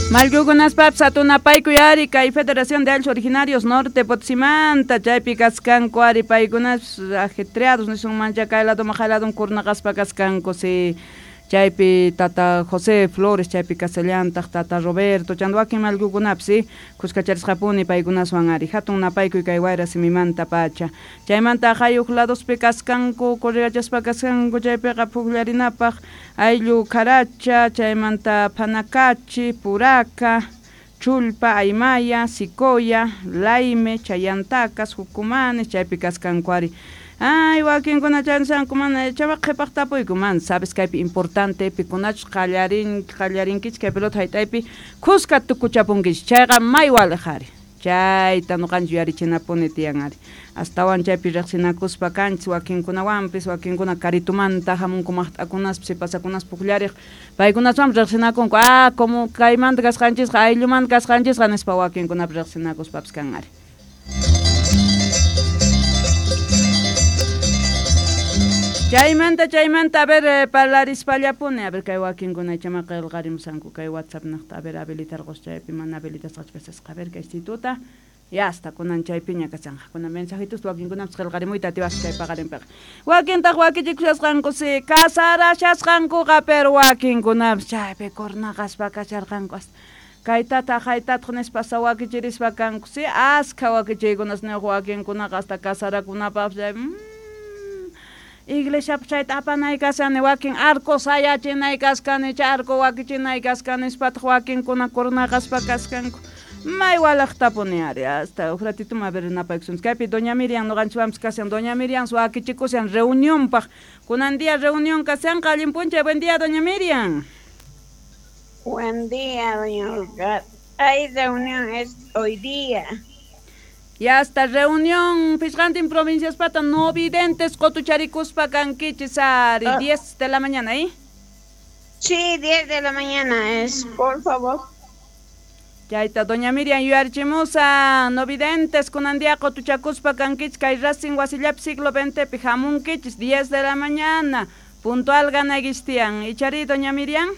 Mallkukunaspapis hatunapaykuy ari kay Federación de Ayllus Originarios Norte Potosimanta chaypi kaskanku ari paykunas ajetreados nisunmancha kay ladoman jay ladoman kurnaqaspa kaskanku si chaypi tata José Flores chaypi kasallantaq tata Roberto chanta wakin mallkukunapis si kuskacharisqapuni paykunaswan ari hatun napaykuy kay wayra simimanta pacha chaymanta jayuq ladospi kaskanku corregachaspa kaskanku chaypiqa pukllarinapaq ayllu Caracha chaymanta Panacachi Puraca Chulpa Aymaya Sicoya Laime Chayantacas Jucumanes chaypi kaskanku ari ay wakinkuna chaynisanku mana chayqa qhipaq tapuyku mana sabes kaypi importante pikunachus qallarinkichik kay pelota hayt'aypi kuska tukuchapunkichik chayqa may waliq ari chayta ñuqanchik yuyarichinapuni tiyan ari astawan chaypi riqsinakuspa kanchis wakinkunawanpis wakinkuna karitumanta hamunku maqt'akunaspa sipasakunaspa pukllariq paykunaswanpis riqsinakunku ah como kaymanta kasqanchisqa ayllumanta kasqanchisqa nispa wakinkunapi riqsinakuspapis kan ari. Chaymanta chaymanta a ver parlarispallapuni a ver kay wakinkuna ichama qillqarimusanku kay WhatsApp niqta a ver habilitarqus chaypi mana habilitasqachu kasasqa a ver kay instituta ya hasta kunan chaypiña kashanqa kunan mensajitos wakinkunapis qillqarimuyta atiwasqa chay paqarinpiqa wakintaq wakichikushasqanku si casarashasqankuqa pero wakinkunapis chaypi kurnaqaspa kasharqanku hasta kaytataq haytataq nispa hasta wakichirispa kanku si askha wakichiykunas niq wakinkunaqa hasta casarakunapaqpis chay iglesiapi chayta apanay kashani wakin arco sayachinay kaskani chay arco wakichinay kaskani nispataq wakinkuna kurnaqaspa kaskanku may walaqtapuni ari hasta huk ratito a ver napaykusunchik kaypi doña Miriam ñuqanchikwanpis kashan doña Miriam wakichikushan reunionpaq kunan día reunión kashanqa allin p'unchay buen día doña Miriam. Buen día, doña Olga. Hay reunión es hoy día. Ya hasta reunión pichqantin provinciaspata no videntes qotucharikuspa kankichis ari 10 de la mañana, ¿eh? Sí, 10 de la mañana es, por favor. Chayta doña Miriam yuyarichimusa no videntes kunan día qotuchakuspa kankichis kay Racing wasillapi siglo XX pi hamunkichis 10 de la mañana puntual ganaykichis tiyan. ¿Ichari doña Miriam?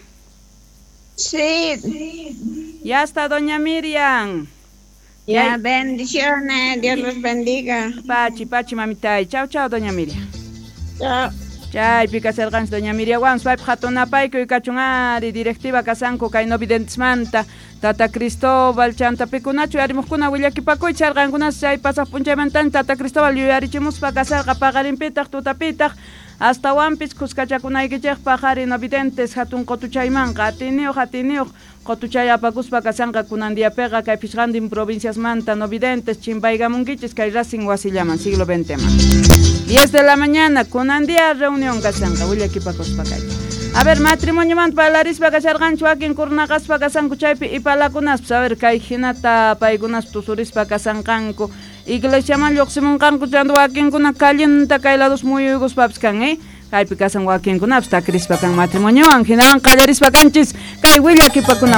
Sí. Ya está doña Miriam. Ya, bendiciones, Dios los bendiga. Pachi, pachi, mamitay. Chau, chau, doña Miriam. Chau. Chaypi kasharqanchik doña Miriam wan paypaq hatunapaykuy kachun ari directiva kasanku kay no videntesmanta tata Cristóbal chanta pikunachu yarimuqkuna willakipakuychik charqankunas chay pasaq p'unchaymantan tata Cristóbal yuyarichimuspa kasharqa paqarinpitaq tutapitaq astawanpis kuskachakunaykichikpaq ari no videntes hatun qotuchaymanqa atiniyuq qotuchay apakuspa kashanqa kunan diapiqa kay pichqantin provinciasmanta no videntes chimpaykamunkichis kay Racing wasillaman siglo XX man 10 de la mañana kunan día reunión kashanqa willakipakuspa kay. A ver matrimoniomanta parlarispa kasharqanchik wakin kurnaqaspa kasanku chaypi ipalakunaspis a ver kay hinata paykunas tusurispa kasanqanku iglesiaman lluqsimunqanku chanta wakinkuna callenta kay lados muyuykuspapis kan kaypi kasan wakinkunapis takirispa kan matrimoniowan hinawan qallarispa kanchis kay willakipakuna.